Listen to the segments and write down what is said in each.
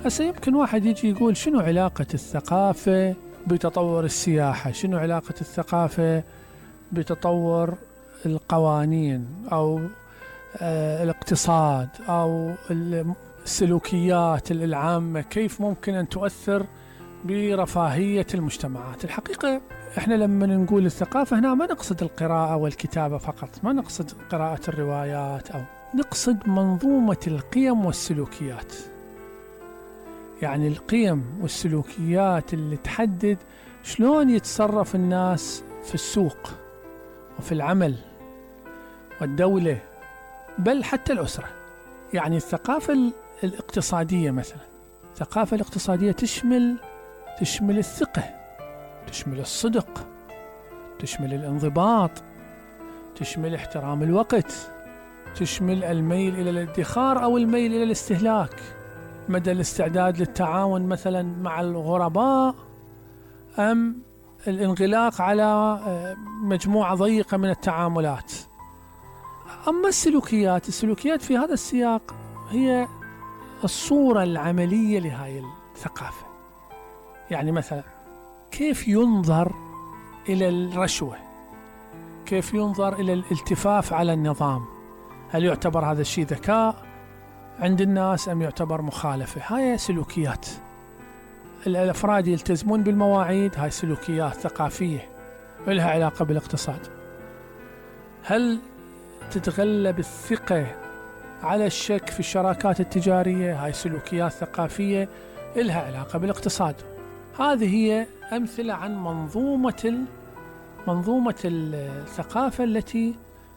هسه يمكن واحد يجي يقول شنو علاقة الثقافة بتطور السياحة؟ شنو علاقة الثقافة بتطور القوانين أو الاقتصاد أو السلوكيات العامة؟ كيف ممكن أن تؤثر برفاهية المجتمعات؟ الحقيقة احنا لما نقول الثقافة هنا ما نقصد القراءة والكتابة فقط، ما نقصد قراءة الروايات، أو نقصد منظومة القيم والسلوكيات. يعني القيم والسلوكيات اللي تحدد شلون يتصرف الناس في السوق وفي العمل والدولة، بل حتى الأسرة. يعني الثقافة الاقتصادية مثلا، الثقافة الاقتصادية تشمل الثقة، تشمل الصدق، تشمل الانضباط، تشمل احترام الوقت، تشمل الميل إلى الادخار أو الميل إلى الاستهلاك، مدى الاستعداد للتعاون مثلا مع الغرباء، أم الانغلاق على مجموعة ضيقة من التعاملات. أما السلوكيات في هذا السياق هي الصورة العملية لهذه الثقافة. يعني مثلا كيف ينظر إلى الرشوة، كيف ينظر إلى الالتفاف على النظام، هل يعتبر هذا الشيء ذكاء عند الناس أم يعتبر مخالفة؟ هاي سلوكيات. الأفراد يلتزمون بالمواعيد، هاي سلوكيات ثقافية لها علاقة بالاقتصاد. هل تتغلب الثقة على الشك في الشراكات التجارية؟ هاي سلوكيات ثقافية لها علاقة بالاقتصاد. هذه هي أمثلة عن منظومة الثقافة التي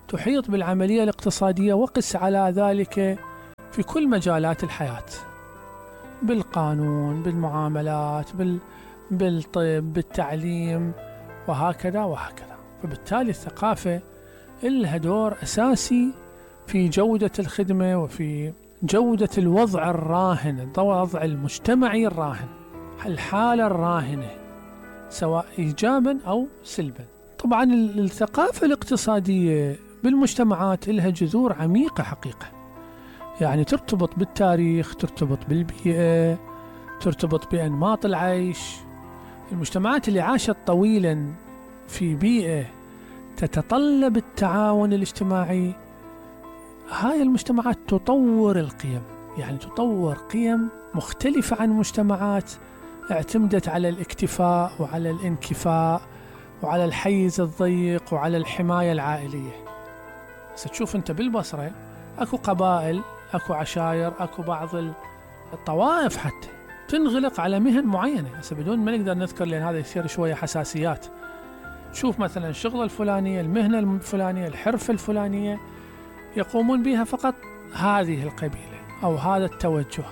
تحيط بالعملية الاقتصادية، وقس على ذلك في كل مجالات الحياة، بالقانون، بالمعاملات، بالطب، بالتعليم، وهكذا. فبالتالي الثقافة لها دور أساسي في جودة الخدمة وفي جودة الوضع الراهن، الوضع المجتمعي الراهن، الحالة الراهنة سواء إيجابا أو سلبا. طبعا الثقافة الاقتصادية بالمجتمعات لها جذور عميقة حقيقة، يعني ترتبط بالتاريخ، ترتبط بالبيئة، ترتبط بأنماط العيش. المجتمعات اللي عاشت طويلا في بيئة تتطلب التعاون الاجتماعي، هاي المجتمعات تطور القيم، يعني تطور قيم مختلفة عن مجتمعات اعتمدت على الاكتفاء وعلى الانكفاء وعلى الحيز الضيق وعلى الحماية العائلية. ستشوف انت بالبصرة اكو قبائل، اكو عشائر، اكو بعض الطوائف حتى تنغلق على مهن معينة، بس بدون ما نقدر نذكر لأن هذا يصير شوية حساسيات. شوف مثلا الشغلة الفلانية، المهنة الفلانية، الحرفة الفلانية يقومون بها فقط هذه القبيلة أو هذا التوجه،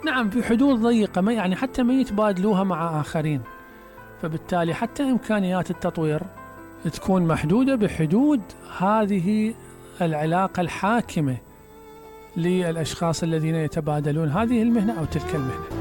نعم في حدود ضيقة، يعني حتى ما يتبادلوها مع آخرين. فبالتالي حتى إمكانيات التطوير تكون محدودة بحدود هذه العلاقة الحاكمة للأشخاص الذين يتبادلون هذه المهنة أو تلك المهنة.